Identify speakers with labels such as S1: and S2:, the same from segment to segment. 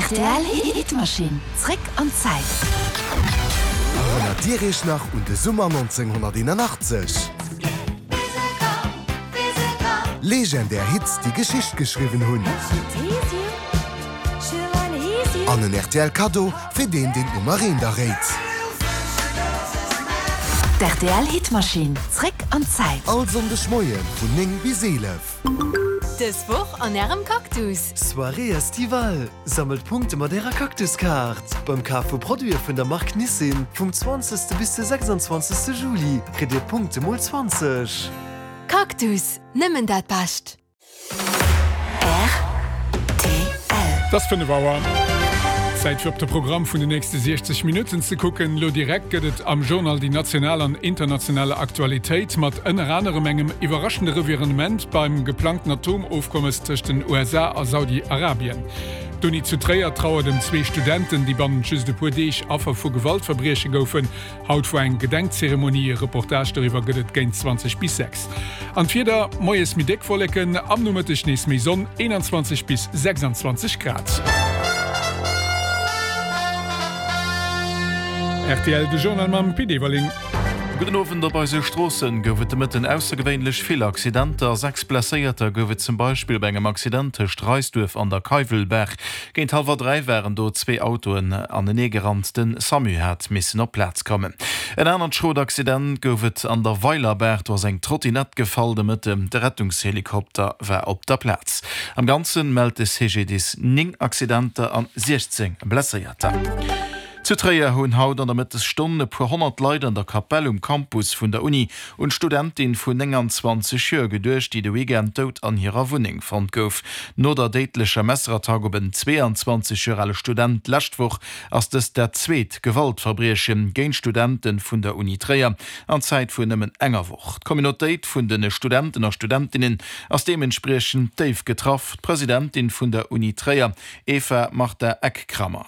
S1: Rtl Hitmaschinn, zréck an d'Zäit.
S2: Erënnert Dir Iech nach un de Summer 1981? Legendär Hits, déi Geschicht geschriwwen hunn. An en rtl Kaddo fir deen, deen d'Nummer eent erréit.
S1: D'RTL Hitmaschinn, zréck an d'Zäit.
S2: All Sonndeg Moie vun 9 bis 11.
S3: Dës Woch an Ärem Cactus!
S4: Soirée estivale! Sammelt Punkte mat Ärer Cactus-Kaart! Beim Kaf vu Produite vun der Mark Nissin vum 20. bis de 26. Juli kritt Dir Punkte mol 20!
S3: Cactus, nëmmen dat Bescht!
S1: Rtl.
S5: Et ass 5 Auer. Zäit fir op de Programm vun den nächste 60 Minutten ze kucken. Elo direkt gëtt et am Journal déi national an internationale Aktualitéit mat ënner anerem engem iwwerraschende Revirement beim geplangten Atomofkommes tëscht den USA a Saudi-Arabien. D'Uni zu Tréier trauert ëm zwee Studenten, déi bannent just e puer Deeg Affer vu Gewaltverbrieche goufen. Haut war eng Gedenkzeremonie, e Reportage doriwwer gëtt et géint 20 bis 6. An d'Wieder, Moies méi déck Wolleken, am Nomëtteg nees méi Sonn, 21 bis 26 Grad. Rtl, De Journal mam Pit Everling.
S6: Gudden Owend. Op eise Stroossen gouf et de Mëtten aussergewéinlech vill Accidenter. 6 Blesséierter gouf et zum Beispill bei engem Accident tëscht Reisduerf an der Keiwelbaach. Géint hallwer 3 waren do zwee Autoen anenee gerannt. Den Samu hat missen op d'Plaz kommen. En anert schrot Accident gouf et an der Weilerbaach. Do ass eng Trottinett gefall de Mëtten. De Rettungshelikopter war op der Plaz. Am Ganzen mellt de CGDIS 9 Accidenter an 16 Blesséierter. Zu Tréier hunn haut an der Mëttesstonn e puer 100 Leit an der Kapell um Campus vun der Uni un d'Studentin vun 29 Joer geduecht, déi de Weekend dout an hirer Wunneng fonnt gouf. No der déidlecher Messerattack op en 22 Joer ale Student d'lescht Woch ass dëst dat zweet Gewaltverbrieche géint Studente vun der Uni Tréier an Zäit vun nëmmen enger Woch. D'Communautéit vun de Studenten a Studentinnen ass deementspriechend déif getraff. D'Presidentin vun der Uni Tréier, Eva Martha Eck-Kramer.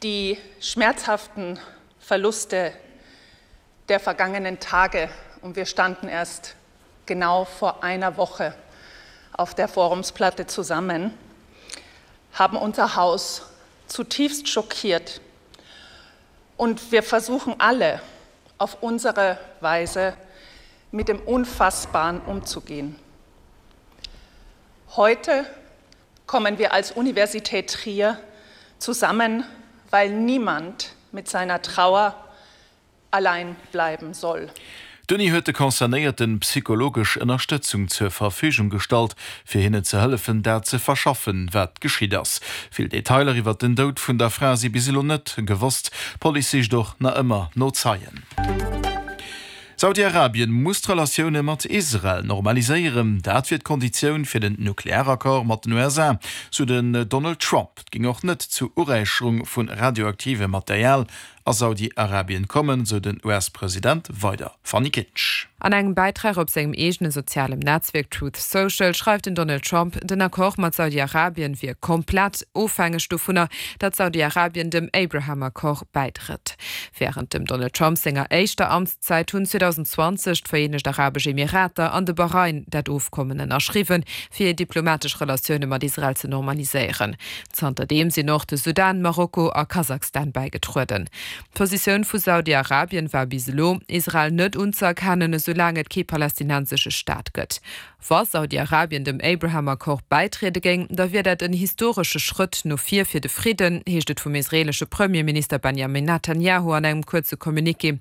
S7: Die schmerzhaften Verluste der vergangenen Tage und wir standen erst genau vor einer Woche auf der Forumsplatte zusammen, haben unser Haus zutiefst schockiert. Und wir versuchen alle auf unsere Weise mit dem Unfassbaren umzugehen. Heute kommen wir als Universität Trier zusammen, weil niemand mit seiner Trauer allein bleiben soll.
S6: D'Uni huet de Concernéierten psychologesch Ënnerstëtzung zur Verfügung gestallt, fir hinnen ze hëllefen, dat ze verschaffen, wat geschitt ass. Vill Detailer iwwer den Doud vun der Fra si bis elo net gewosst. D'Police sicht och nach ëmmer no Zeien. Saudi-Arabien muss d'Relatioune mat Israel normaliséieren. Dat wier d'Konditioun fir den Nuklearaccord mat den USA, sou den Donald Trump. Et géing och net zu Uräicherung vu radioaktivem Material a Saudi-Arabien kommen, sou den US-President weider. Fanny Kinsch.
S8: An engem Bäitrag op sengem eegene sozialem Netzwierk Truth Social schreift den Donald Trump, den Accord mat Saudi-Arabien wier komplett ofhängeg dovunner, datt Saudi-Arabien dem Abraham-Accord bäitrëtt. Wärend dem Donald Trump senger éischter Amtszäit hunn 2020 d'Vereenegt Arabesch Emirater an de Bahrain dat Ofkommen ënnerschriwwen, fir hir diplomatesch Relatioune mat Israel ze normaliséieren. Zanterdeem sinn och de Sudan, Marokko a Kasachstan bäigetrueden. D'Positioun vu Saudi-Arabien war bis elo, Israel net unzëerkennen, esoulaang et kee palästinensesche Staat gëtt. Wa Saudi-Arabien dem Abraham-Accord bäitriede géing, da wier dat en historesche Schrëtt no vir fir de Fridden, heescht et vum israeelesche Premierminister Benjamin Netanjahu an engem kuerze Communiqué.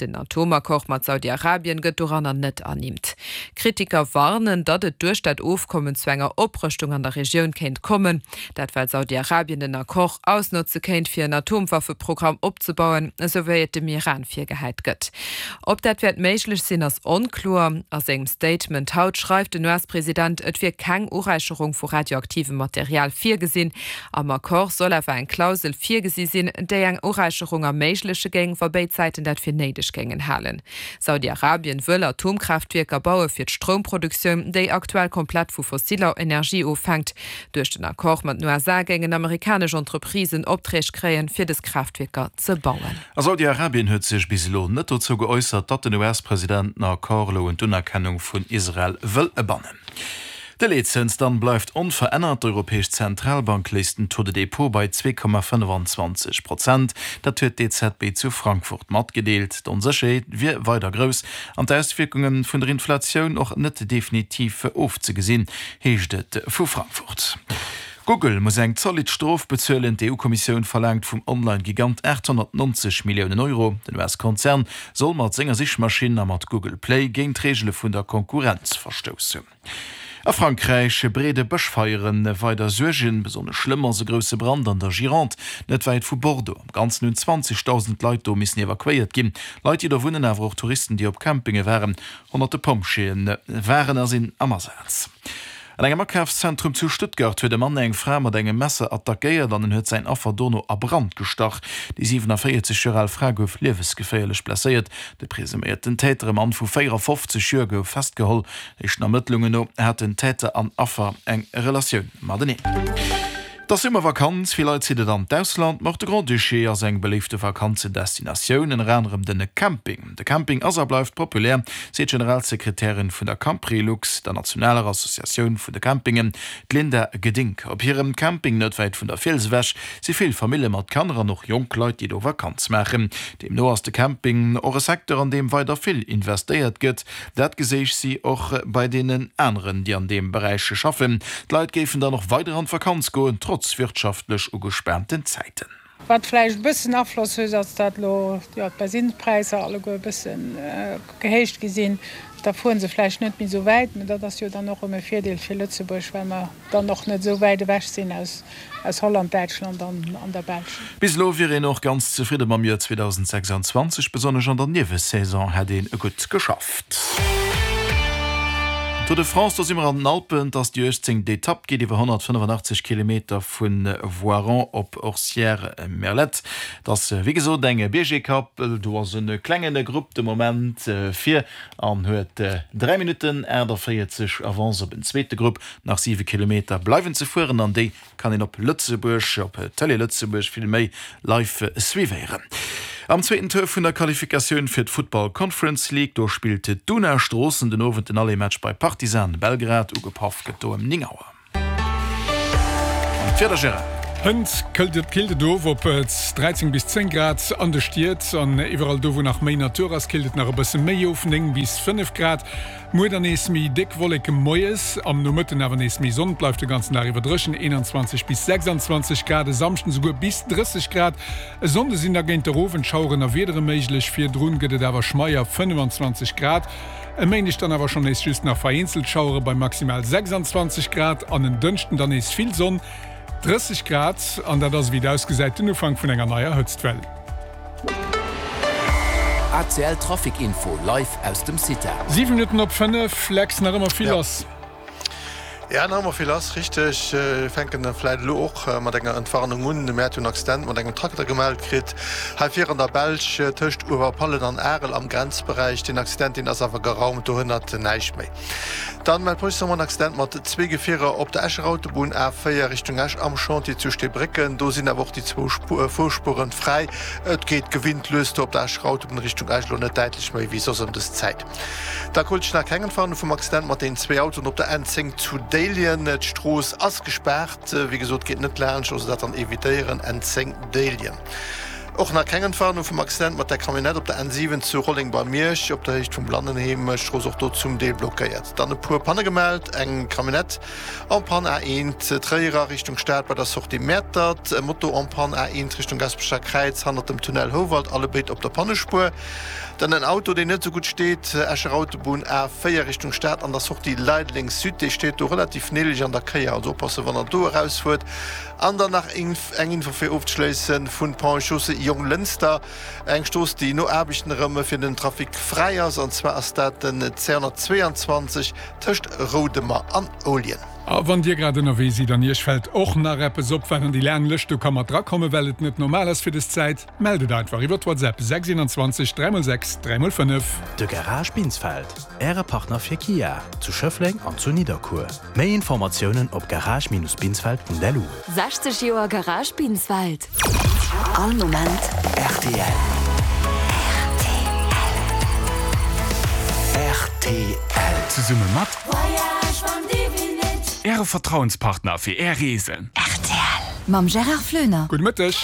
S8: Den Atomaccord mat Saudi-Arabien gëtt doranner net ernimmt. Kritiker warnen, datt et duerch dat Ofkommen zu enger Oprëschtung an der Regioun kéint kommen. Dat well Saudi-Arabien den Accord ausnotze kéint, fir en Atomwaffeprogramm opzebauen, esou wéi et dem Iran virgehäit gëtt. Ob dat wäert méiglech sinn, ass onkloer. A sengem Statement haut schreift den US-President, et wier keng Uräicherung vu radioaktivem Material virgesinn. Am Accord soll awer eng Klausel virgesi sinn, déi eng Uräicherung erméigleche géing, wa béid Säiten dat fir néideg géingen halen. Saudi-Arabien wëll Atomkraaftwierker baue fir d'Stroumproduktioun, déi aktuell komplett vu fossiller Energie ofhänkt. Duerch den Accord mat den USA géingen amerikanesch Entreprisen Opträg kréien, fir dës Kraaftwierker ze bauen.
S6: A Saudi-Arabien huet sech bis elo net dozou geäussert, datt den US-President den Accord elo un d'Unerkennung vun Israel wëll bannen. De Leetzëns dann bleift onverännert. D'Europäesch Zentralbank léisst den Taux de dépôt bei 2,25 Prozent. Dat huet d'EZB zu Frankfurt matgedeelt. D'Onsécherheet wier weider grouss an d'Auswierkunge vun der Inflatioun och net definitiv ofzegesinn, heescht et vu Frankfurt. Google muss eng zolidd Strof bezuelen. D'EU-Kommissioun verlaangt vum Online-Gigant 890 Milliounen Euro. Den US-Konzern soll mat senger Sichmaschinn a mat Google Play géint d'Reegele vun der Konkurrenz verstouss hunn. A Frankräich breede Bëschfeiere weider Suergen. Besonnesch schlëmm ass e grousse Brand an der Gironde, net wäit vu Bordeaux. Am Ganzen hunn 20.000 Leit do missen evakuéiert ginn. Leit, déi do wunnen, awer och Touristen, déi op Campinge waren. Honnerte Pompjeeë waren a sinn am Asaz. An engem Akafszentrum zu Stuttgart huet e Mann eng Fra mat engem Messer attackéiert an en huet säin Affer dono a Brand gestach. Déi 47 Joer al Fra gouf liewesgeféierlech blesséiert. De presuméierten Täter, e Mann vu 54 Joer, gouf festgeholl. Éischten Ermëttlungen no haten Täter an Affer eng Relatioun mateneen. Et ass Summervakanz, vill Leit zitt et an d'Ausland, ma och de Grand-Duché ass eng beléifte Vakanzendestinatioun, ënner anerem den Camping. De Camping ass a bleift populär, seet d'Generalsekretärin vun der Camprilux, der nationaler Associatioun vun de Campingen, d'Linda Gedink. Op hirem Camping net wäit vun der Fiels ewech si vill Famille mat Kanner an och jonk Leit, déi do Vakanz maachen. Deemno ass de Camping och e Secteur, an deem weider vill investéiert gëtt. Dat geséich si och bei deenen aneren, déi an deem Beräich schaffen. D'Leit géifen dann och weider an d'Vakanz goen, trotz wirtschaftlech ugespaanten Zäiten.
S9: Wat vläicht e bëssen Afloss huet, ass dat elo jo d'Bensinnspräisser alleguer e bësse gehéicht gi sinn. Da fuere se vläicht net méi esou wäit, mä dat ass jo dann och erëm e Virdeel fir Lëtzebuerg, well mer dann och net esou wäit ewech sinn aus Holland, Däitschland an der Belsch.
S6: Bis elo wier een och ganz zefridde mam Joer 2026, besonnesch an der Niewesaison hätt een gutt geschafft. Tour de France, do si mer an den Alpen, et ass déi 18. Etapp, geet iwwer 185 Kilometer vu Voiron op Orcières-Merlette. Et ass wéi gesot eng Biergetapp, do ass e klenge Grupp de Moment vir an huet 3 Minutten 48 Avance op en zweete Grupp. Nach 7 Kilometer bleiwen ze fueren an déi kann een op Lëtzebuerg, op Télé Lëtzebuerg vill méi, live suivéieren. Am zweeten Tour vun der Qualifikatioun fir d'Football Conference League, do spillt d'Una Stroossen den Owend den Aller-Match bei Partizan Belgrad. Ugepaff gëtt do ëm 9 Auer. An d'Wieder, Gérard?
S5: Hënt këllt et killt et of op 13 bis 10 Grad an de Stied an iwwerall do wou nach méi Natur ass killt et nach e bësse méi of, 9 bis 5 Grad. Muer dann nees méi déck Wolleke moies, am Nomëtten awer nees méi Sonn. Et bleift de ganzen Dag iwwer dréchen, 21 bis 26 Grad, e Samschden esouguer bis 30 Grad. E Sonnde sinn da géint der Owend Schaueren a Wiedere méiglech, virdrun gëtt et awer schmeier, 25 Grad. E Méindeg dann awer schonn nees just nach vereenzelt Schauere bei maximal 26 Grad an en Dënschden dann nees vill Sonn, 30 Grad. An dat ass, ewéi et ausgesäit, den Ufank vun enger neier Hëtztwell.
S10: ACL Trafic Info live aus dem CITA.
S5: 7 Minutten op 5, Lex, nach ëmmer vill lass.
S11: Ja, nach ëmmer vill lass, richteg. Mir fänken da vläit elo och mat enger Entwarnung un. Mir hate jo en Accident mat engem Trakter gemellt kritt, hei vir an der Belsch, tëscht Uewerpallen an Arel am Grenzberäich. Deen Accident, deen ass awer geraumt, do hënnert näischt méi. Dann mellt d'Police nach emol en Accident mat zwee Gefierer op der Escher Autobunn, A4 Richtung Esch, am Chantier zu Steebrécken. Do sinn awer och déi zwou Fuerspueren fräi. Et geet gewinnt lues do op der Escher Autobunn Richtung Esch, elo net däitlech méi wéi soss ëm dës Zäit. Da krut ech nach keng Entwarnung vum Accident mat den zwee Autoen op der N10 zu Déiljen. D'Strooss ass gespaart, wéi gesot geet net laanscht, also dat dann evitéieren, N10 Déiljen. Och nach keng Entwarnung vum Accident mat der Camionnette op der N7 zu Rolleng bei Miersch, op der Héicht vum Blannenheem. D'Strooss och do zum Deel blockéiert. Dann e puer Panne gemellt, eng Camionnette en panne A1 Tréier a Richtung Stad bei der Sortie Mäertert, e Moto en panne A1 Richtung Gasperecher Kräiz hannert dem Tunnel Houwald, allebéid op der Pannespuer. Dann en Auto deen net esou gutt steet, Escher Autobunn A4 Richtung Stad an der Sortie Leideleng Sud, dee steet do relativ neelech an der Kéier, also oppassen wann der do erausfuert. An dann nach eng Info fir ofzeschléissen vun Ponts et Chaussées Jonglënster, eng Strooss déi no Aarbechten erëm fir den Trafic fräi ass, an zwar ass dat den 222 tëscht Roudemer an Ouljen.
S5: A wann Dir grad ënnerwee sidd an Iech fält och nach eppes op, wat an déi laang Lëscht do ka mat drakommen, well et net normal ass fir des Zäit, mellt et einfach iwwer WhatsApp 6 21 3 x 6 3 x 5.
S10: De Garage Binsfeld, Äre Partner fir Kia, zu Schëffleng an zu Nidderkuer. Méi Informatiounen op garage-binsfeld.lu.
S3: 60 Joer Garage Binsfeld.
S1: All Moment
S10: rtl. Rtl. Rtl.
S5: Zesumme mat Äre Vertrauenspartner fir Är Reesen.
S3: Rtl mam Gérard Floener.
S5: Gudde Mëtteg.